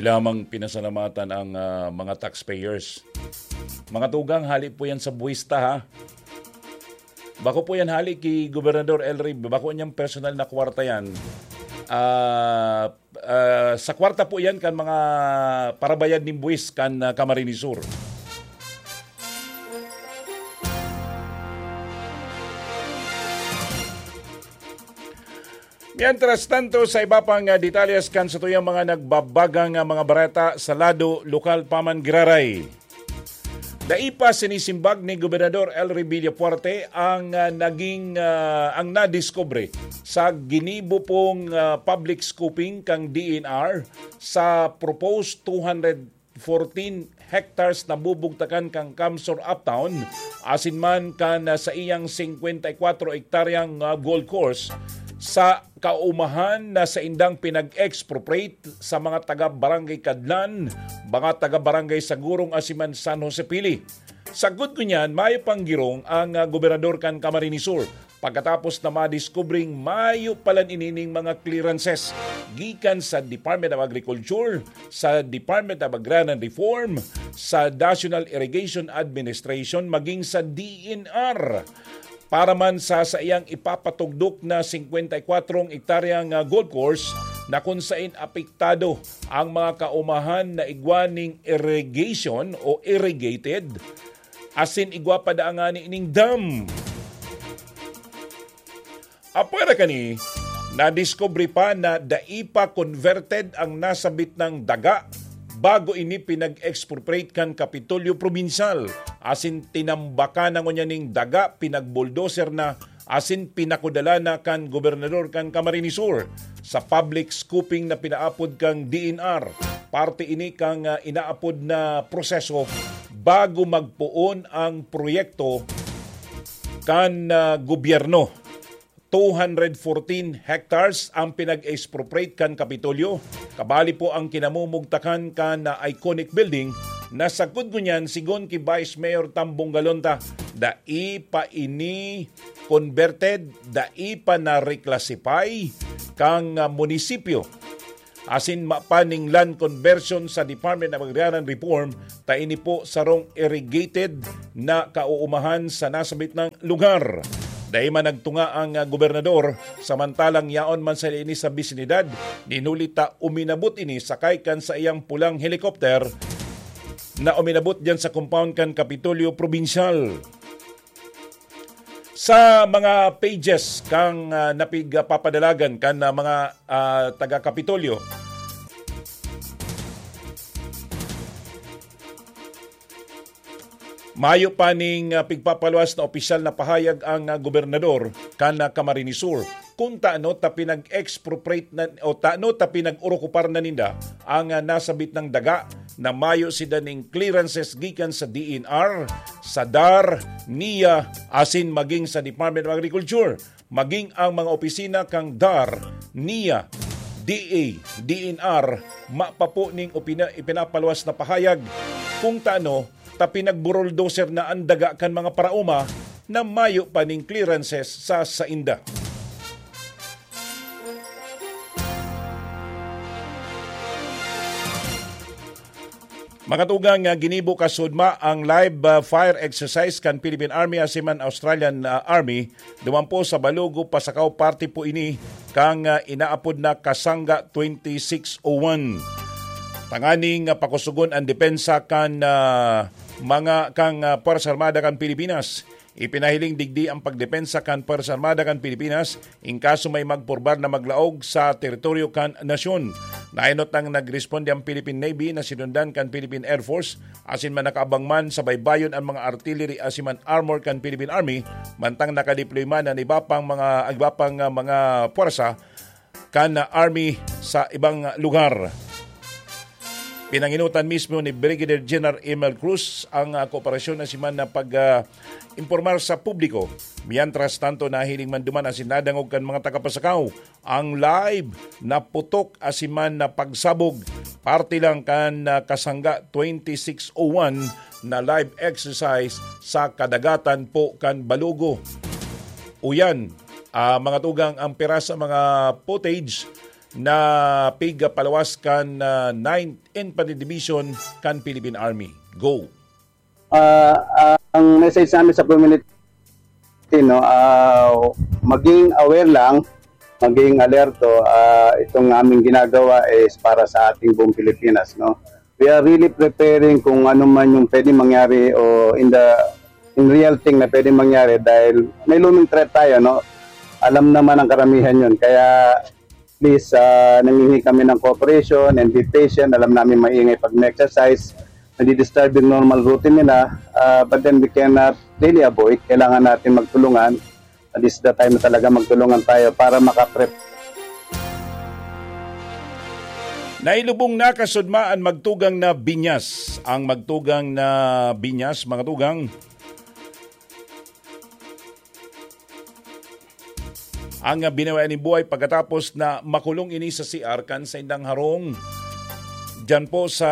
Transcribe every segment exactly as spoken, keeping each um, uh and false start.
lamang pinasalamatan ang, ah, mga taxpayers. Mga tugang, hali po yan sa buwista, ha? Bako po yan hali ki Gobernador El Rey, bako niyang personal na kwarta yan. Ah, ah, sa kwarta po yan kan mga parabayad nin buwis kan, ah, Camarines Sur. Mientras tanto, sa iba pang, ah, detalles kan satuyang mga nagbabagang, ah, mga bareta sa lado lokal pa man giraray. Dai pa sinisimbag ni Gobernador El Rey Villafuerte ang, ah, naging, ah, ang nadiskubre sa ginibo pong, ah, public scoping kan D E N R sa proposed two hundred fourteen hectares na bubugtakan kan CamSur Uptown, asin man kan, ah, saiyang singkwenta y kwatro hektaryang, ah, golf course sa kaumahan na saindang pinag-expropriate sa mga taga Barangay Cadlan, mga taga Barangay Sagurong asin man San Jose Pili. Sagkod ngunyan, mayo pang girong ang, ah, gobernador kan Camarines Sur pagkatapos na madiskubring mayo palan inining mga clearances gikan sa Department of Agriculture, sa Department of Agrarian Reform, sa National Irrigation Administration, maging sa D E N R. Para man sa saiyang ipapatugdok na singkwenta y kwatro hektaryang, ah, golf course na kun sain apektado ang mga kaumahan na igwa ning irrigation o irrigated, asin igwa pa daa ngani ning dam. Apwera kani, nadiskubre pa na dai pa converted ang nasabit nang daga bago ini pinag-expropriate kan Kapitolyo Probinsyal, asin tinambakan na ngunyan ning daga, pinagbulldozer na, asin pinakudala na kan gobernador kan Camarines Sur sa public scoping na pinaapod kan D E N R. Parte ini kan, ah, inaapod na proseso bago magpoon ang proyekto kan, ah, gobyerno. Two hundred fourteen hectares ang pinag-expropriate kan Kapitolyo. Kabali po ang kinamumugtakan kan, ah, iconic building na sagkod ngunyan, sigon ki Vice Mayor Tambong Galonta, dai pa ini converted, dai pa na-reclassify kan, ah, munisipyo. Asin mapaning land conversion sa Department of Agrarian Reform, ta ini po sarong irrigated na kauumahan sa nasabit na lugar. Dai man nagtunga ang, ah, gobernador, samantalang yaon man sa ini sa bisinidad, nin huli ta uminabot ini sakay kan saiyang pulang helicopter na uminabot diyan sa compound kan Kapitolyo Probinsyal. Sa mga pages kan, ah, napigpapadalagan kan, ah, mga, ah, taga-Kapitolyo, mayo pa ning, ah, pigpapaluwas na opisyal na pahayag ang, ah, gobernador kan, ah, Camarines Sur kun tano ta pinag-expropriate na o tano ta pinag-orokupar na ninda ang, ah, nasabit na daga na mayo sinda ning clearances gikan sa D E N R, sa dar, nia, asin maging sa Department of Agriculture. Maging ang mga opisina kan dar, nia, D A, D E N R, mapapo ning opina-, ipinapaluwas na pahayag kun tano ta pinagburuldoser na an daga kan mga paraoma na mayo pa ning clearances sa sainda. Mga tugang, ah, ginibo kasudma ang live, ah, fire exercise kan Philippine Army asin man Australian, ah, Army duman po sa Balugo, Pasacao. Parte po ini kan, ah, inaapod na Kasangga twenty-six oh one. Tanganing, ah, pakusugon ang depensa kan, ah, mga kan, ah, Puwersa Armada kan Pilipinas. Ipinahiling digdi ang pagdepensa kan Puwersa Armada kan Pilipinas in kaso may magpurbar na maglaog sa teritoryo kan nasyon. Naenot nang nagresponde ang Philippine Navy na sinundan kan Philippine Air Force asin man nakaabang man sa baybayon ang mga artillery asin man armor kan Philippine Army, mantang nakadeploy man ang iba pang mga, iba pang, ah, mga puwersa kan Army sa ibang lugar. Pinanginutan mismo ni Brigadier General Emil Cruz ang, ah, kooperasyon na siman na pag, ah, impormar sa publiko. Mientras tanto, nahiling man duman asin nadangog kan mga taga-Pasacao ang live na putok asin man na pagsabog, parte lang kan, ah, Kasangga twenty-six oh one na live exercise sa kadagatan po kan Balugo. Uyan, ah, mga tugang, ang pira sa mga footage na pigpalawas kan, ah, Ninth Infantry Division kan Philippine Army. Go. Ah, ang message namin sa community, no, ah, maging aware lang, maging alerto. Ah, itong aming ginagawa is para sa ating buong Pilipinas, no? We are really preparing kung ano man yung pwede mangyari o in the, in real thing na pwede mangyari dahil may looming threat tayo, no? Alam naman ang karamihan yun. Kaya please, ah, nangihingi kami ng cooperation and be patient. Alam namin maingay pag may exercise, nadi-disturb yung normal routine nila. Ah, but then we cannot really avoid. Kailangan natin magtulungan. This is the time na talaga magtulungan tayo para makaprep. Nailubong na kasudma ang magtugang na binyas. Ang magtugang na binyas, mga tugang, ang binawian nin buhay pagkatapos na makulong ini sa C R kan saindang harong diyan po sa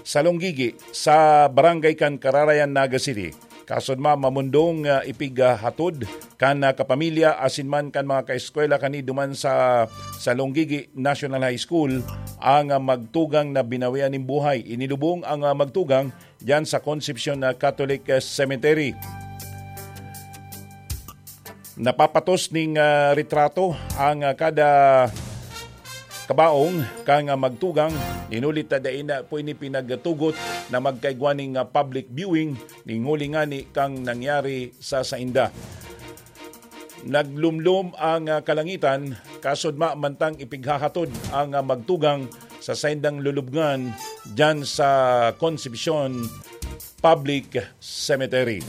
Salonggigi, sa barangay kan Kararayan, Naga City. Kasudma mamundong, ah, ipighatod kan, ah, kapamilya asin man kan mga kaeskwela kani duman sa Salonggigi National High School ang, ah, magtugang na binawian nin buhay. Inilubong ang, ah, magtugang diyan sa Concepcion, ah, Catholic, ah, Cemetery. Napapatos ning, ah, retrato ang, ah, kada kabaong kan, ah, magtugang. Inulit na dai na po ini pinagtugot na magkaigwa ning, ah, public viewing ning huli ngani kan nangyari sa sainda. Naglumlom ang, ah, kalangitan, kasudma mantang ipighahatod ang, ah, magtugang sa saindang lulubngan diyan sa Concepcion Public Cemetery.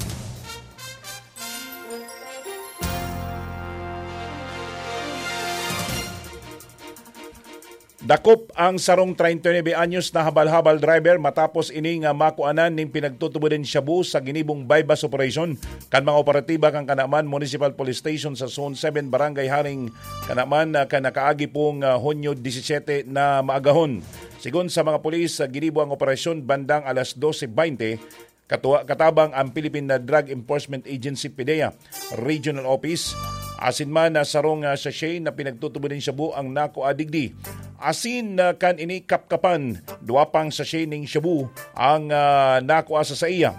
Dakop ang sarong treinta y nuebe anyos na habal-habal driver matapos ini nga makuanan ning pinagtutubod nin shabu sa ginibong buy-bust operation kan mga operatiba kan Kanaman Municipal Police Station sa Zone seven, Barangay Haring Kanaman, ah, kan nakaagi pong, ah, Hunyo disisete na maagahon. Sigon sa mga pulis, ah, ginibo ang operasyon bandang alas dose bente, katua-, katabang ang Philippine Drug Enforcement Agency, PDEA, Regional Office. Asin man na sarong, ah, sachet na pinagtutubod nin shabu ang nakua digdi. Asin, ah, kan ini kapkapan, duwa pang sachet ning shabu ang, ah, nakua sa saiya.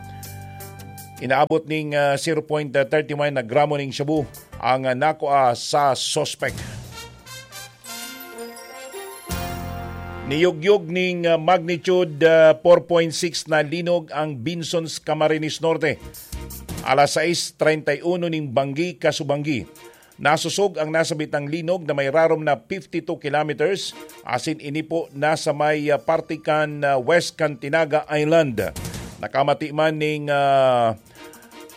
Inaabot ning, ah, zero point thirty one na gramo ning shabu ang, ah, nakua sa suspek. Niyugyog ning, ah, magnitude, ah, four point six na linog ang Binson sa Camarines Norte. Alas sais treinta y uno ning banggi, kasubanggi. Nasosog ang nasabitang linog na may rarom na fifty two kilometers, asin ini po nasa may, ah, parte kan, ah, west kan Tinaga Island. Nakamati man ning, ah,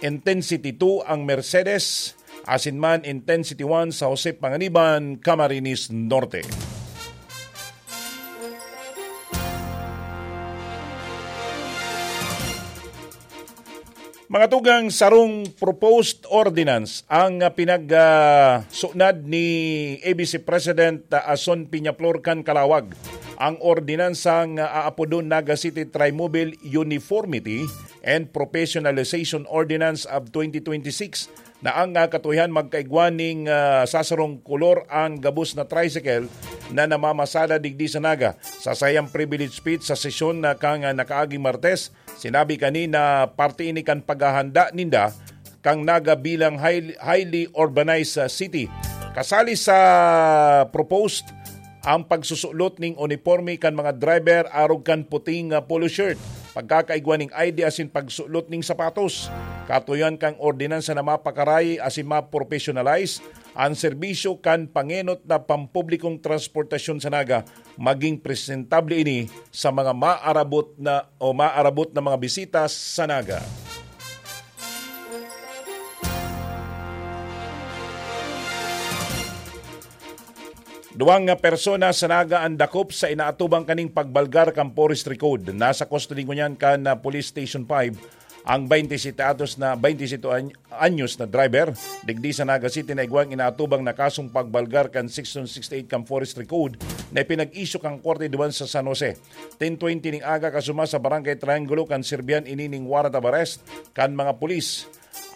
Intensity two ang Mercedes, asin man Intensity one sa Jose Panganiban, Camarines Norte. Mga tugang, sarong proposed ordinance ang, ah, pinag, ah, sunad ni A B C President, ah, Ason Peñaflor kan Calawag. Ang ordinansang, ah, aapodon Naga City Trimobile Uniformity and Professionalization Ordinance of twenty twenty-six na ang, ah, katuihan magkaigwa ning, ah, sasarong kolor ang gabos na tricycle na namamasada digdi sa Naga. Sa sayang privilege speech sa sesyon na kang, ah, nakaaging Martes, sinabi kani na parte ini kan paghahanda ninda kang Naga bilang high-, highly urbanized, ah, city. Kasali sa proposed ang pagsusulot ning uniporme kan mga driver arog kan puting, ah, polo shirt, pagkakaigwa ning I D asin pagsulot ning sapatos. Katuyan kang ordinansa na mapakaray asin maprofessionalize ang serbisyo kan pangenot na pampublikong transportasyon sa Naga, maging presentable ini sa mga maarabot na o maarabot na mga bisita sa Naga. Duwang nga persona sa Naga ang dakop sa inaatubang kaning pagbalgar kan Forestry Code. Nasa kustodiya ngunyan kan, ah, Police Station five ang baynte sete anos na, baynte sete any-, anyos na driver digdi sa Naga City na igwang inaatubang na kasong pagbalgar kan Section sixty-eight kan Forestry Code na ipinag-issue kan korte duman sa San Jose. Ten twenty ning aga kasuma sa Barangay Triangulo kan sirbihan ini ning warrant of arrest kan mga pulis.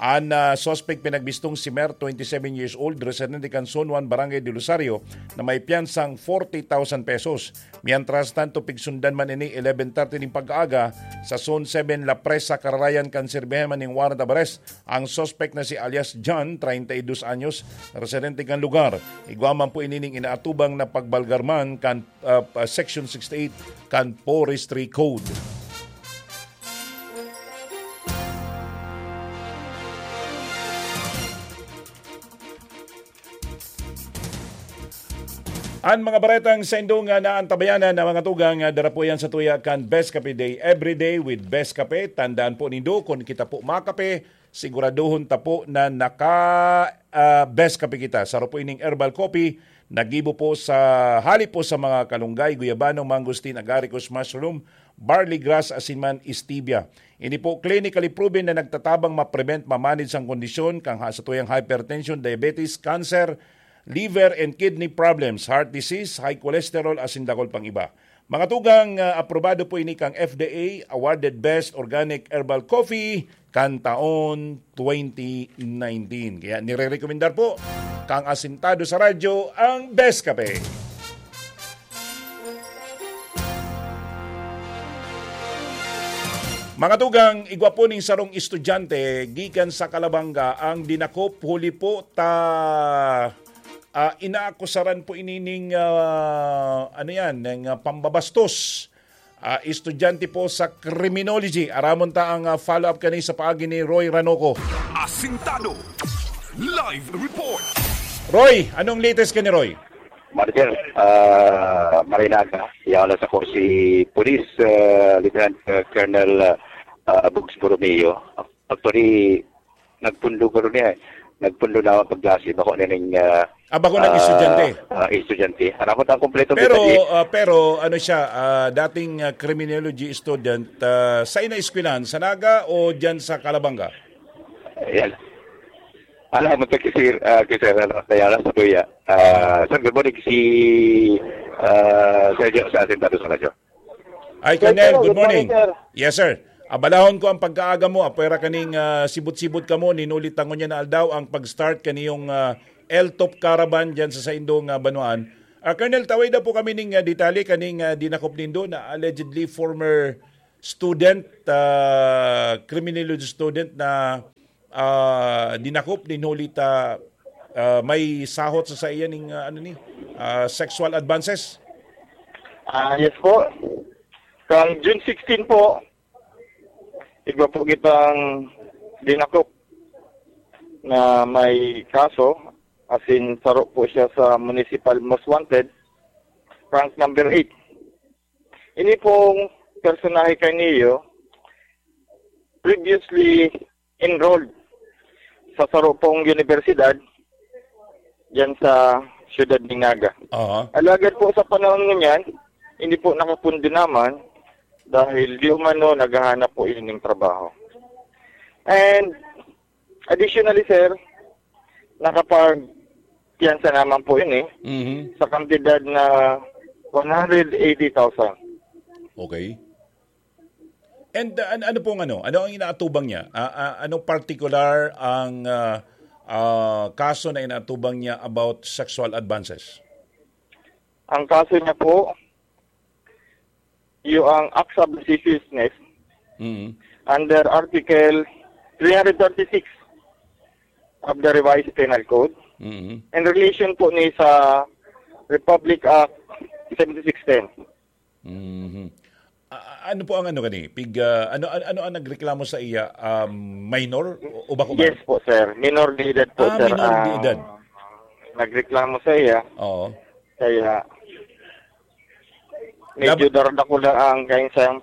An, ah, suspek pinagbistong si Mer, twenty-seven years old, residente kan Zone one, Barangay del Rosario, na may piyansang forty thousand pesos. Mientras tanto, pigsundan man ini eleven thirty nin pag-aaga sa Zone seven, La Presa, kararayan kan sirbihan man nin warrant of arrest ang suspek na si alias John, treinta y dos anyos, residente kan lugar. Igwa man po ini nin inaatubang na pagbalgarman kan, ah, ah, Section sixty-eight kan Forestry Code. An mga baretang saindo nga naantabayanan na mga tugang, ah, dara po yan sa tuya kan Best Cafe Day. Every day with Best Cafe. Tandaan po nindo, kun kita po makape, siguraduhon ta po na naka, ah, Best Cafe kita. Saro po ining herbal coffee, nagibo po sa, hali po sa mga kalunggay, guyabano, mangosteen, agaricus, mushroom, barley grass, asin man stevia. Ini po clinically proven na nagtatabang ma-prevent, ma-manage ang kondisyon kan ha-, sa tuyang hypertension, diabetes, cancer, liver and kidney problems, heart disease, high cholesterol, asin dakul pang iba. Mga tugang, ah, aprobado po ini kang F D A, awarded Best Organic Herbal Coffee kan taon twenty nineteen. Kaya nire-rekomendar po kang asintado sa radyo ang Best Kape. Mga tugang, igwa po ning sarong estudyante gikan sa Calabanga ang dinakop huli po ta, ah, inaakusaran po ini ning, ah, ano yan, ning, ah, pambabastos. Ah, estudyante po sa criminology. Aramon ta ang, ah, follow-up kani sa paagi ni Roy Ranoco. Asintado. Live report. Roy, anong latest kani, Roy? Marcel, ah, Marinaga, yaon lang sa ko si Police, ah, Lieutenant, ah, Colonel, ah, Bugs Borromeo. Actually, nagpundo ko rin eh. Nagpundo na ako pagklase. Bako na ning, ah, Ah, bako nang ah, estudyante. ah, estudyante. Harapot ang kompletong Pero, detalye. ah, pero ano siya, ah, dating, ah, criminology student, ah, sa ina eskwelahan, sa Naga o dyan sa Calabanga? Ayan. Alam mo, thank you, sir. Ah, kay Sir, ano, kaya lang sa kuya. Ah, sir, good morning, si, ah, Sergio sa Asintado sa Radyo. Ay, Sir, Colonel, hello, good good morning, morning. Sir. Yes, sir. Abalahon ko ang pagkaaga mo. Apwera kaning, ah, sibot-sibot kamo, ninuli ta ngunyan na aldaw ang pag-start kaniyong, ah, L top Caravan dyan sa saindong, ah, banwaan. Ah, Colonel, taway daw po kami ning, ah, detalye kaning, ah, dinakop nindo na allegedly former student, ah, criminology student na, ah, dinakop nin huli ta, ah, may sahot sa saiya ning, ah, ano ni, ah, sexual advances. Ah, yes po. Kang June sixteen po, igwa po kitang dinakop na may kaso, as in, saro po siya sa municipal most wanted, rank number eight. Ini pong personahe kaniyo, previously enrolled sa saro pong universidad diyan sa siyudad ng Naga. Aha. Alagad po sa panahon ngunyan, hindi po nakapundo naman dahil di umano naghahanap po ining trabaho. And additionally, sir, nakapagpiyansa naman po ini Mhm. sa kantidad na one hundred eighty thousand. Okay. And, uh, an-, ano pong ano? Ano ang inaatubang niya? Ah, ah, ano particular ang, ah, ah, kaso na inaatubang niya about sexual advances? Ang kaso niya po, yung ang acts of lasciviousness Mhm. under Article three hundred thirty-six of the Revised Penal Code Mhm. in relation po ni sa Republic Act seventy-six ten. Mhm. A-, a-, ano po ang ano gani? Pig, ah, ano, ano, ano ang nagreklamo sa iya? Um, minor o, o bako ba? Yes po, sir. Minor de edad po, Ah, sir, minor de ang edad. nagreklamo sa iya. Oo. Kaya, medyo Lab- daradakula ang kanyang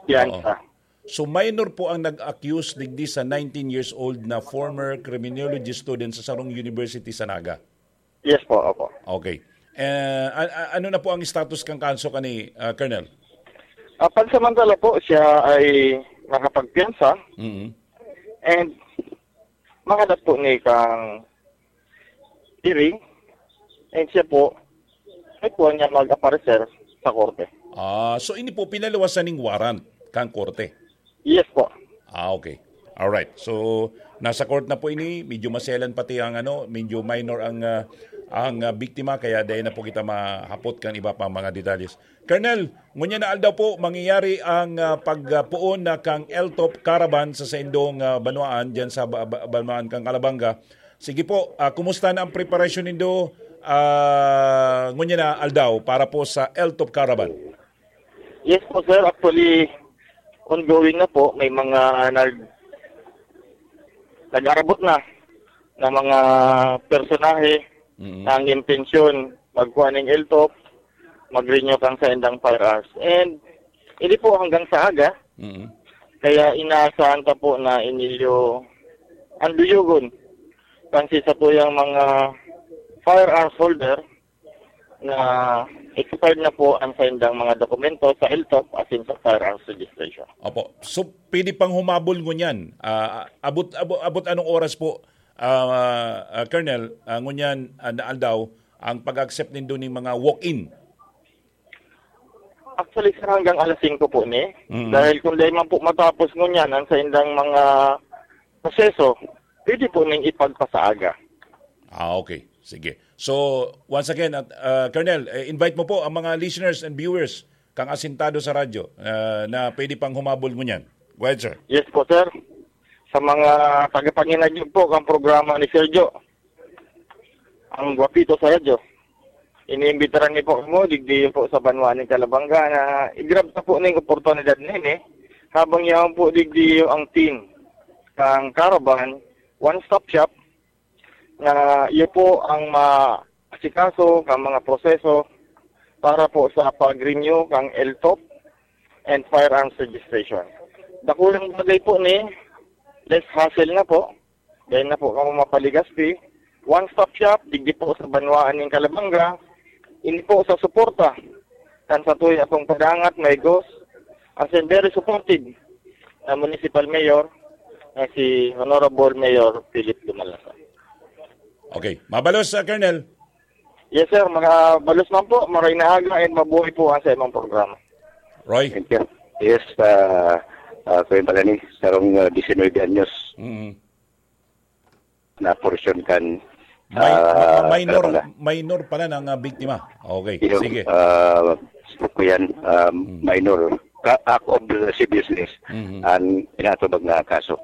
piyansa. Oo. So, minor po ang nag-accuse digdi sa nineteen years old na former criminology student sa sarong university sa Naga? Yes po, opo. Okay. Eh, a-, a-, ano na po ang status kan kaso kani, ah, Colonel? Ah, pansamantala po, siya ay nakapagpiyansa Mhm. and makadat po ni kang hearing and siya po, ay po niya mag-aparecer sa korte. Ah, so ini po pinaluwasan ning warrant kan korte? Yes po. Ah, okay. Alright. So, nasa court na po ini. Medyo maselan pati ang ano, medyo minor ang, ah, ang, ah, biktima, kaya dahil na po kita mahapot kan iba pang mga detalles. Colonel, ngunyan na aldaw po, mangyayari ang, ah, pagpuon na kang L T O P Caravan sa saindong, ah, banwaan, dyan sa ba-, ba-, banwaan kang Calabanga. Sige po, ah, kumusta na ang preparasyon nindo, ah, ngunyan na aldaw para po sa L T O P Caravan? Yes po, sir. Actually, ongoing na po. May mga nag-, nag-arabot na na mga personahe Mm. na ang intensyon magkuha ning L T O P, mag-renew kang saindang firearms. And hindi po hanggang sa aga, Mm. kaya inaasahan ta po na inilyo ang duyugon. Kasi sa tuyang mga firearms holder, na expired na po ang saindang mga dokumento sa L T O P, as in sa firearms registration. Opo. So, pwede pang humabol ngunyan. Ah, abot, abot, abot anong oras po, ah, ah, Colonel, ah, ngunyan, ah, na aldaw, ang pag-accept nindo ning mga walk-in? Actually, sir, hanggang alas singko po ni. Mm. Dahil kung dahil man po matapos ngunyan ang saindang mga proseso, pwede po ning ipagpasaaga. Ah, okay. Sige. So, once again, at, ah, Colonel, eh, invite mo po ang mga listeners and viewers kang asintado sa radyo, ah, na pwede pang humabol ngunyan. Go ahead, sir. Yes po, sir. Sa mga tagapanginagyog po kang programa ni Sergio, ang Guapito sa radyo, iniimbitaran niyo po kamo, digdi po sa banwa ni Calabanga, na i-grab ta po ning oportunidad na ini, habang yaon po digdi ang team kang Caravan, One Stop Shop, na iyo po ang maasikaso kang mga proseso para po sa pag-renew kang L T O P and firearms registration. Dakulang bagay po ni, less hassle na po. Dahil na po kamo mapaligasti. One Stop Shop, digdi po sa banwaan ning Calabanga. Ini po sa suporta kan sa tuya pong padangat, may gos, as in very supportive na municipal mayor na si Honorable Mayor Philip Dumalasa. Okay. Mabalos, ah, Colonel. Yes, sir. Mga balos man po. Maray na aga and mabuhay po ang sa imong programa. Roy? Thank you. Yes, ah, ah, Kuya Balani, sarong, ah, diecinuebe anyos Mm. na porsyon kan, May, ah, ma-, minor, Calabanga. Minor pala ng, ah, biktima. Okay, Yung, sige. ah, gusto ko yan, ah, Mm. minor. Ka-, act of lasciviousness Mhm. ang inatubag na kaso.